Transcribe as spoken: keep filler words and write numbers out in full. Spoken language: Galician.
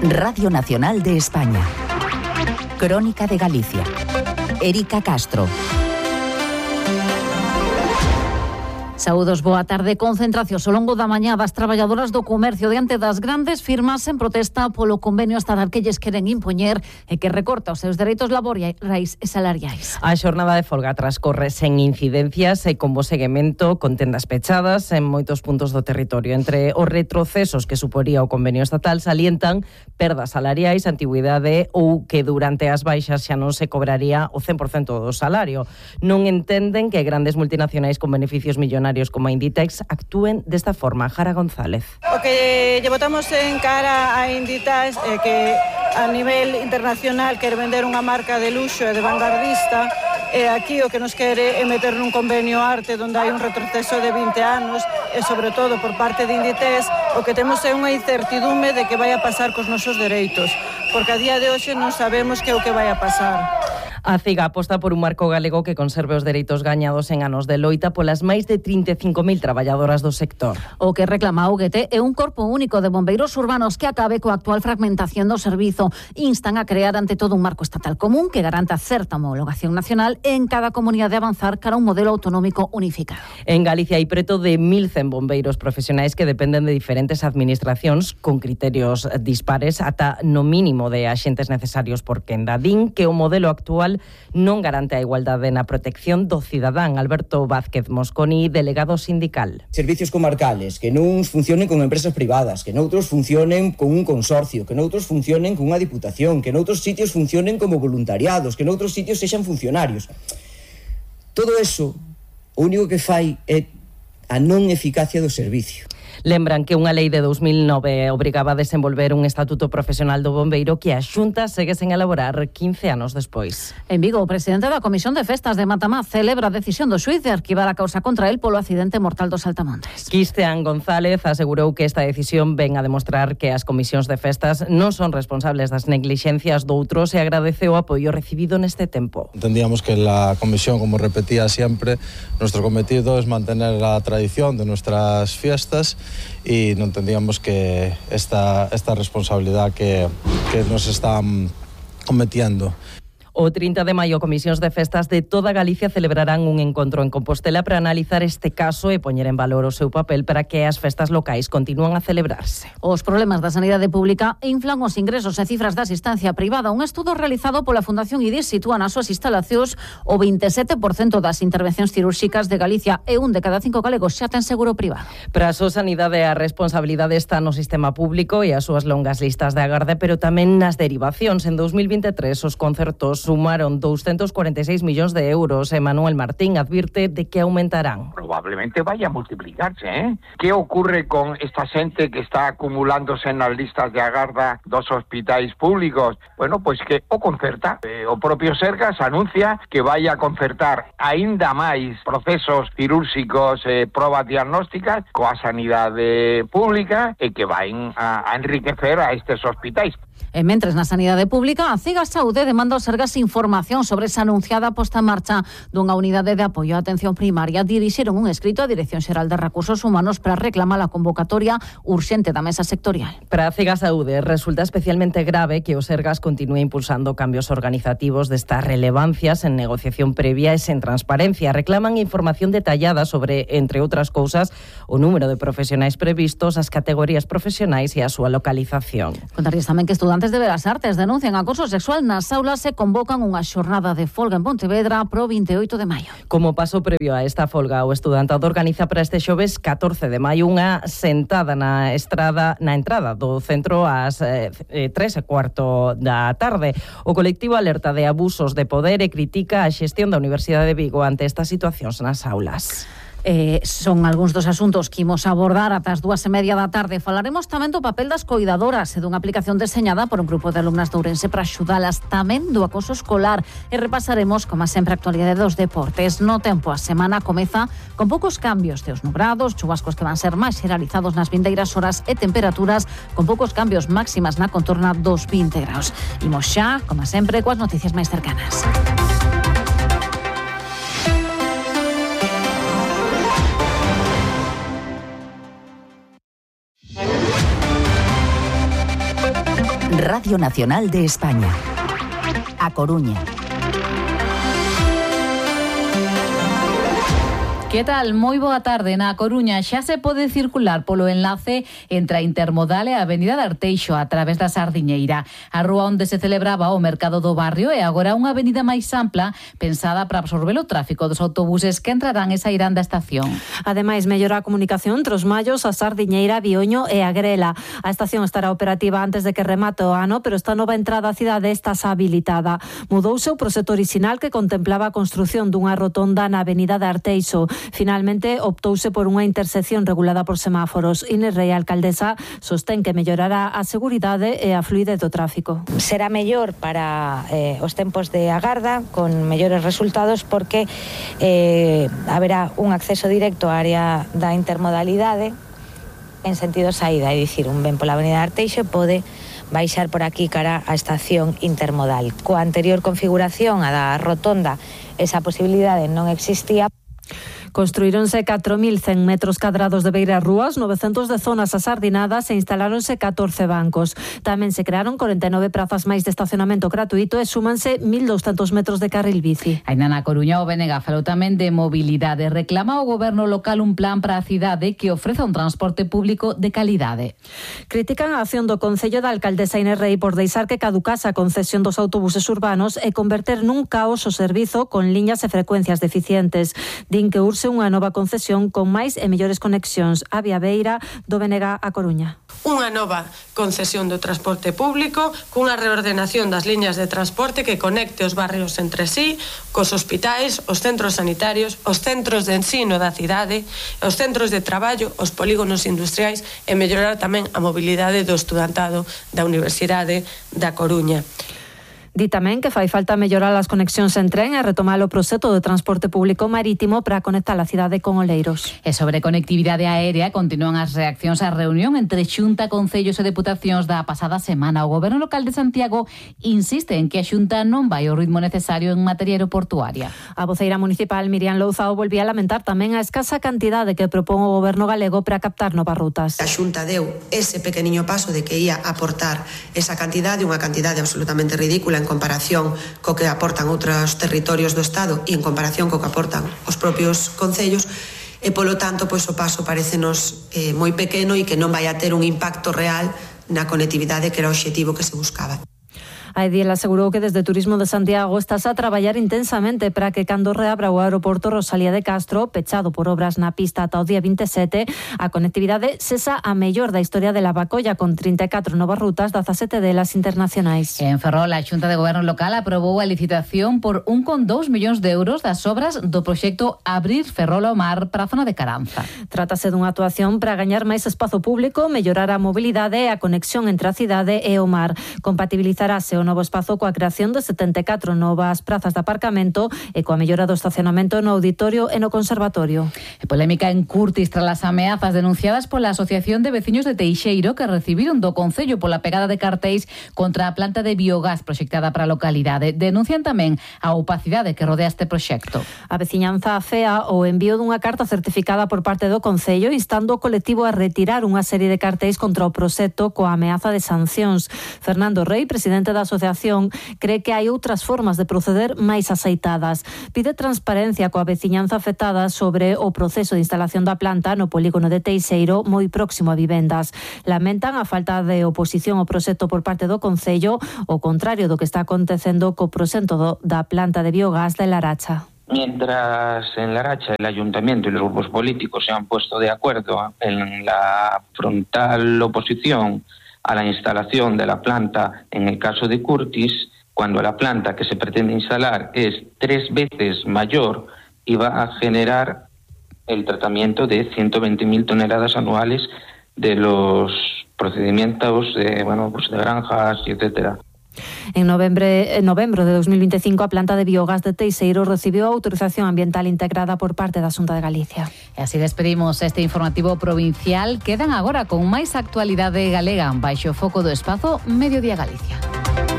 Radio Nacional de España. Crónica de Galicia. Erika Castro. Saúdos, boa tarde. Concentracións ao longo da mañá das traballadoras do comercio diante das grandes firmas en protesta polo convenio estatal que lles queren impoñer e que recorta os seus dereitos laborais e salariais. A xornada de folga transcorre sen incidencias e con bo seguimento, con tendas pechadas en moitos puntos do territorio. Entre os retrocesos que suporía o convenio estatal salientan perdas salariais, antigüidade ou que durante as baixas xa non se cobraría o cen por cento do salario. Non entenden que grandes multinacionais con beneficios millonarios como a Inditex actúen desta forma. Jara González. O que lle botamos en cara a Inditex é que a nivel internacional quer vender unha marca de luxo e de vanguardista, e aquí o que nos quere é meter nun convenio arte onde hai un retroceso de vinte anos, e sobre todo por parte de Inditex o que temos é unha incertidume de que vai a pasar cos nosos dereitos, porque a día de hoxe non sabemos que é o que vai a pasar. A CIGA aposta por un marco galego que conserve os dereitos gañados en anos de loita polas máis de trinta e cinco mil traballadoras do sector. O que reclama a U G T é un corpo único de bombeiros urbanos que acabe coa actual fragmentación do servizo. Instan a crear ante todo un marco estatal común que garanta certa homologación nacional en cada comunidade, avanzar cara a un modelo autonómico unificado. En Galicia hai preto de mil cen bombeiros profesionais que dependen de diferentes administracións con criterios dispares ata no mínimo de axentes necesarios por quenda. Din que o modelo actual non garante a igualdade na protección do cidadán. Alberto Vázquez Mosconi, delegado sindical. Servicios comarcales que non funcionen con empresas privadas, que noutros funcionen con un consorcio, que noutros funcionen con unha diputación, que noutros sitios funcionen como voluntariados, que noutros sitios sexan funcionarios. Todo eso, o único que fai é a non eficacia do servicio. Lembran que unha lei de dos mil nove obrigaba a desenvolver un estatuto profesional do bombeiro que a Xunta segue sen elaborar quince anos despois. En Vigo, o presidente da Comisión de Festas de Matamá celebra a decisión do xuíz de arquivar a causa contra el polo accidente mortal dos Saltamontes. Cristian González asegurou que esta decisión ven a demostrar que as comisións de festas non son responsables das neglixencias doutros e agradeceu o apoio recibido neste tempo. Entendíamos que la comisión, como repetía siempre, nuestro cometido es mantener la tradición de nuestras fiestas y no entendíamos que esta, esta responsabilidad que, que nos están cometiendo. O trinta de maio, comisións de festas de toda Galicia celebrarán un encontro en Compostela para analizar este caso e poñer en valor o seu papel para que as festas locais continúan a celebrarse. Os problemas da sanidade pública inflan os ingresos e cifras da asistencia privada. Un estudo realizado pola Fundación I D I S sitúa nas súas instalacións o veintisiete por cento das intervencións cirúrxicas de Galicia e un de cada cinco galegos xa ten seguro privado. Para a súa sanidade, a responsabilidade está no sistema público e as súas longas listas de agarde, pero tamén nas derivacións. En dos mil veintitrés, os concertos sumaron doscientos cuarenta y seis millóns de euros. Emanuel Martín advirte de que aumentarán. Probablemente vaya a multiplicarse, ¿eh? ¿Qué ocurre con esta xente que está acumulándose nas listas de agarda dos hospitais públicos? Bueno, pois que o concerta. Eh, o propio Sergas anuncia que vai a concertar aínda máis procesos cirúrxicos e eh, probas diagnósticas coa sanidade pública e que vain a, a enriquecer a estes hospitais. E mentres na sanidade pública, a CIGA Saúde demanda aos Sergas información sobre esa anunciada posta en marcha dunha unidade de apoio á atención primaria. Dirixeron un escrito á Dirección Xeral de Recursos Humanos para reclamar a convocatoria urxente da mesa sectorial. Para a CIGA Saúde resulta especialmente grave que o Sergas continúe impulsando cambios organizativos destas relevancias en negociación previa e sen transparencia. Reclaman información detallada sobre, entre outras cousas, o número de profesionais previstos, as categorías profesionais e a súa localización. Contarles tamén que estudantes de Belas Artes denuncian acoso sexual nas aulas e convocan unha xornada de folga en Pontevedra pro veintioito de maio. Como paso previo a esta folga, o estudantado organiza para este xoves catorce de maio unha sentada na estrada na entrada do centro ás eh, tres e cuarto da tarde. O colectivo alerta de abusos de poder e critica a xestión da Universidade de Vigo ante estas situacións nas aulas. Eh, son algúns dos asuntos que imos abordar ata as dúas e media da tarde. Falaremos tamén do papel das coidadoras e dunha aplicación deseñada por un grupo de alumnas de Ourense para axudalas, tamén do acoso escolar, e repasaremos, como sempre, a actualidade dos deportes. No tempo, a semana comeza con poucos cambios de os nubrados, chubascos que van ser máis xeralizados nas vindeiras horas e temperaturas con poucos cambios, máximas na contorna dos vinte graus. Imos xa, como sempre, coas noticias máis cercanas. Radio Nacional de España. A Coruña. Que tal? Moi boa tarde. Na Coruña xa se pode circular polo enlace entre a Intermodal e a Avenida de Arteixo a través da Sardiñeira. A rúa onde se celebraba o mercado do barrio é agora unha avenida máis ampla pensada para absorber o tráfico dos autobuses que entrarán e sairán da estación. Ademais, mellora a comunicación entre os Mallos, a Sardiñeira, Bioño e a Grela. A estación estará operativa antes de que remate o ano, pero esta nova entrada á cidade está habilitada. Mudouse o proxecto orixinal que contemplaba a construción dunha rotonda na Avenida de Arteixo. Finalmente, optouse por unha intersección regulada por semáforos. Inés Rey, alcaldesa, sostén que mellorará a seguridade e a fluidez do tráfico. Será mellor para eh, os tempos de agarda, con mellores resultados, porque eh, haberá un acceso directo á área da intermodalidade en sentido saída, é dicir, un ven pola Avenida de Arteixo pode baixar por aquí cara á estación intermodal. Coa anterior configuración, a da rotonda, esa posibilidade non existía. Construíronse catro mil cen metros cadrados de beiras rúas, novecentos de zonas asardinadas e instaláronse catorce bancos. Tamén se crearon corenta e nove prazas máis de estacionamento gratuito e súmanse mil douscentos metros de carril bici. Ainda na Coruña, o B N G falou tamén de mobilidade. Reclama ao goberno local un plan para a cidade que ofreza un transporte público de calidade. Critican a acción do Concello da alcaldesa Inés Rey por deixar que caducase a concesión dos autobuses urbanos e converter nun caos o servizo con liñas e frecuencias deficientes. Din que urse unha nova concesión con máis e mellores conexións. A Vía Beira, do B N G a Coruña. Unha nova concesión do transporte público cunha reordenación das liñas de transporte que conecte os barrios entre sí, cos hospitais, os centros sanitarios, os centros de ensino da cidade, os centros de traballo, os polígonos industriais e mellorar tamén a mobilidade do estudantado da Universidade da Coruña. Di tamén que fai falta mellorar as conexións en tren e retomar o proxecto de transporte público marítimo para conectar a cidade con Oleiros. E sobre conectividade aérea, continúan as reaccións á reunión entre Xunta, Concellos e Deputacións da pasada semana. O Goberno local de Santiago insiste en que a Xunta non vai ao ritmo necesario en materia aeroportuaria. A voceira municipal Miriam Louzao volvía a lamentar tamén a escasa cantidade que propón o Goberno galego para captar novas rutas. A Xunta deu ese pequeniño paso de que ia aportar esa cantidade, unha cantidade absolutamente ridícula en comparación co que aportan outros territorios do Estado e en comparación co que aportan os propios concellos, e polo tanto pois o paso parecenos eh, moi pequeno e que non vai a ter un impacto real na conectividade que era o obxectivo que se buscaba. A Ediel asegurou que desde Turismo de Santiago estás a traballar intensamente para que cando reabra o aeroporto Rosalía de Castro, pechado por obras na pista ata o día veinte e sete, a conectividade sexa a mellor da historia de Lavacolla, con trinta e catro novas rutas, dezasete delas internacionais. En Ferrol, a Xunta de Goberno local aprobou a licitación por un coma dous millóns de euros das obras do proxecto Abrir Ferrol ao Mar para a zona de Caranza. Trátase dunha actuación para gañar máis espazo público, mellorar a mobilidade e a conexión entre a cidade e o mar. Compatibilizarase o novo espazo coa creación de setenta e catro novas prazas de aparcamento e coa mellora do estacionamento no auditorio e no conservatorio. E polémica en Curtis tras as ameazas denunciadas pola Asociación de Veciños de Teixeiro, que recibiron do Concello pola pegada de cartéis contra a planta de biogás proxectada para a localidade. Denuncian tamén a opacidade que rodea este proxecto. A veciñanza afea o envío dunha carta certificada por parte do Concello instando o colectivo a retirar unha serie de cartéis contra o proxecto coa ameaza de sancións. Fernando Rey, presidente da asociación, cree que hai outras formas de proceder máis aceitadas. Pide transparencia coa veciñanza afectada sobre o proceso de instalación da planta no polígono de Teixeiro, moi próximo a vivendas. Lamentan a falta de oposición ao proxecto por parte do Concello, o contrario do que está acontecendo co proxecto do, da planta de biogás de Laracha. Mientras en Laracha el ayuntamiento y los grupos políticos se han puesto de acuerdo en la frontal oposición a la instalación de la planta en el caso de Curtis, cuando la planta que se pretende instalar es tres veces mayor y va a generar el tratamiento de ciento veinte mil toneladas anuales de los procedimientos de, bueno, pues de granjas, etcétera. En novembre, en novembro de dos mil veinticinco, a planta de biogás de Teixeiro recibiu a autorización ambiental integrada por parte da Xunta de Galicia. E así despedimos este informativo provincial. Quedan agora con máis actualidade galega baixo o foco do espazo Mediodía Galicia.